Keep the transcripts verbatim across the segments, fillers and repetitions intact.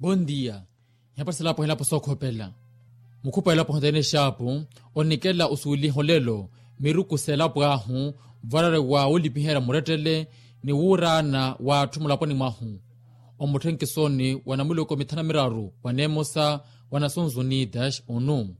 Bondia. Ihapasela apo hilapo sookhopela. Mukhupa elapo hontene exaapu, onikela osuuliha olelo miruku s'elapo ahu, varare wa olipiherya murettele ni wuuraana w'atthu mulaponi mwahu. Omutthenkisoni wa namuloko mithanu na miraru wa neemosa wa nasons unidas onu,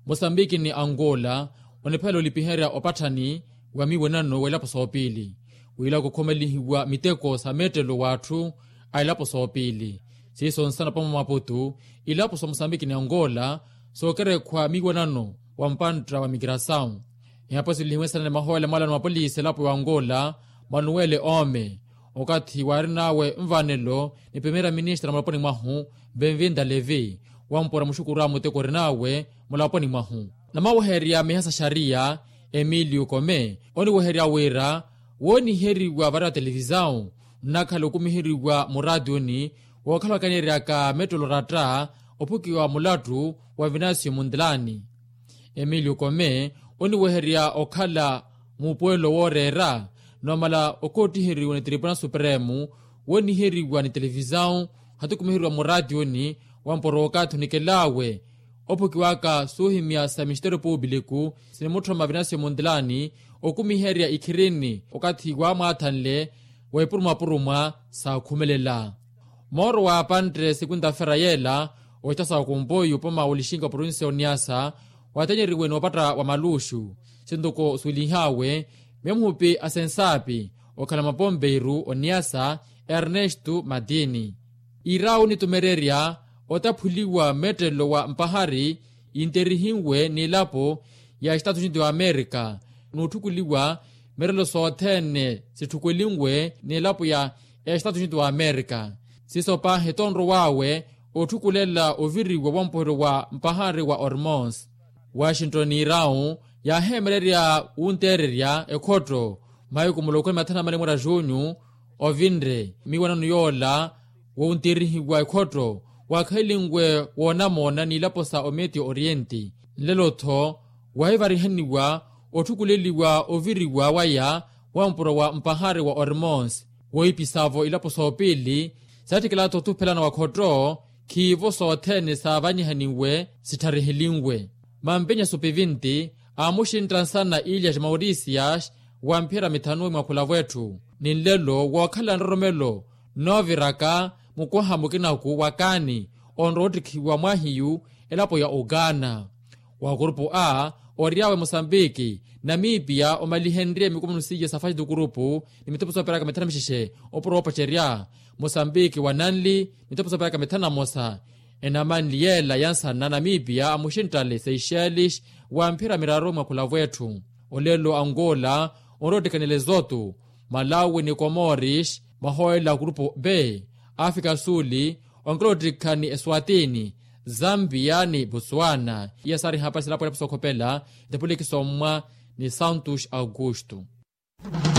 mosambiki ni angola oniphela olipiherya opatthani wa miiwanano w'elapo soopiili, w'ila kukhomelihiwa miteko sa meettelo w'atthu a elapo soopiili. Siiso nsana pamo maputu, ilapo sa mosambiki ni angola sookerekhwa miiwanano wa mpantta wa migrasawu. Ihapo silihiwe nsana ni mahoola mwaalano wa polisi elapo ya angola, manuwele ome okathi waarin'awe nvanelo ni primeira ministra mulaponi mwahu, benvinda levi, wampora muxukuru a muteko orinawe mulaponi mwahu. Namaweherya miha sa xariya, emilio kome oniweherya wira wooniheriwa vara televisawu nnakhala okumiheriwa muraatiyoni, wookhala wakaneeryaka mettelo oratta ophukiwa mulattu wa vinasio muntilani. Emilio kome oniweherya okhala muupuwelo wooreera, nomala okoottiheriwa ni tribunal supremo wooniheriwa ni televisawu, hatukumiheriwa muraatiyoni, wampora okathi onikel'awe ophukiwaka suuhimya sa ministeriyo publiku sinimutthoma vinasio muntilani okumiherya ikhirini okathi waamwaathanle wa ipurumwapurumwa saakhumelela. Mooro wa apantte sekunta-fera yeela oxita sa kumpoyu opoma wolixinka provincia oniasa, waatanyeriwe n'upatta wa maluxu, sintuko suulinh'awe miyo muhupi a sensaapi okhala mapompeiru oniasa, ernesto matini. Iir'awe onitumererya otaphuliwa meettelo wa mpahari yinterihiwe n'elapo ya estatu unido wa amerika, n'utthukuliwa meettelo sothene sitthukulinwe n'elapo ya estatu unido wa amerika. Siiso paahi tonrow'awe otthukulela oviriwa wampoheryo wa mpahari wa ormons. Washington iir'awe yaaheemererya wunteererya ekhotto mahiku muloko ni mathanu na mali mwera junyu, ovinre miiwanano yoola wowunteerihiwa ekhotto waakhalinwe woonamoona n'ilapo sa omedio orienti. Nlelo-tho wahivarihaniwa otthukuleliwa oviriwa waya wampuro wa mpahari wa ormons, woipisavo ilapo soopiili saatthikela-tho othuphelana wa khotto. Khiivo sothene saavanyihaniwe sittharehelinwe. Mampenya supivinti aamuxintta nsana ilias maurisias wa mphira mithanu mwakhula vwetthu, ni nlelo wookhala nroromelo nnooviraka mukwaha mukinaku wa kaani onrowa ottikhiwa mwahiyu elapo ya ugana. Wa kurupu a ory'awe mosambiki, namipiya omalihenrye mikumunu seiya sa faxi tu kurupu ni mitepo sooperaka mithanu na mixexe opuro woopacerya. Mosambiki wa nanli mitepo sooperaka mithanu na mosa. Enamanli yeela ya nsana namipiya amuxinttale seychelles wa mphira miraru mwakhula vwetthu. Olelo angola onrowa ottikhanela ezotu, malawi ni komoris mahoolela a kurupu b. Afrika suuli onkela ottikhani eswatini, zambia ni botswana. Iya saari hapari silapo elapo sookhopela. Itepuliki sommwa ni santos augusto.